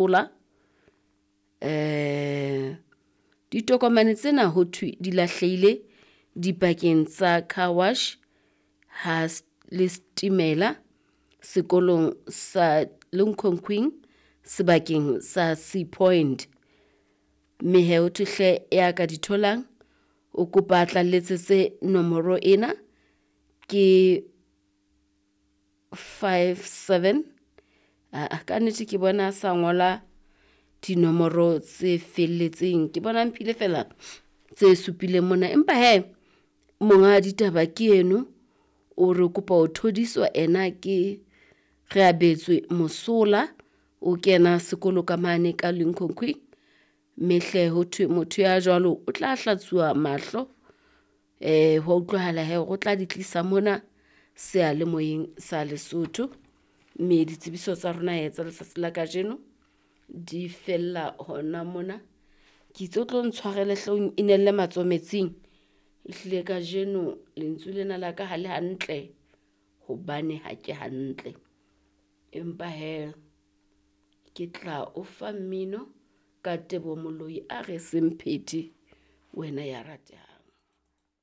Mosola. Ditokomane tsena ho thwe di lahlehile dipakeng tsa car wash ha le setimela sekolong sa Limkokwing sebakeng sa Sea Point. Mme hee ho thwe hle ya ka di tholang, o kopa a tla letsetse nomoro ena ke 57, aa kannete ke bona a sa ngola dinomoro tse felletseng, ke bona a mphile feela tse supileng mona. Empa hee monga ditaba ke eno o re kopa ho thodiswa ena ke Reabetswe Mosola, o kena sekolo ka mane ka Limkokwing. Mme hle ho thwe motho ya jwalo o tla hlatsuwa mahlo, hwa utlwahala hee hore o tla di tlisa mona seyalemoyeng sa Lesotho. Mme ditsebiso tsa rona hee tsa letsatsi la kajeno di fella hona mona. Ke itse o tlo ntshwarele hle o inelle matsoho metsing, ehlile kajeno lentswe lena la ka ha le hantle hobane ha ke hantle. Empa hee ke tla o fa mmino ka Teboho Moloi a re semphethe wena ya ratehang.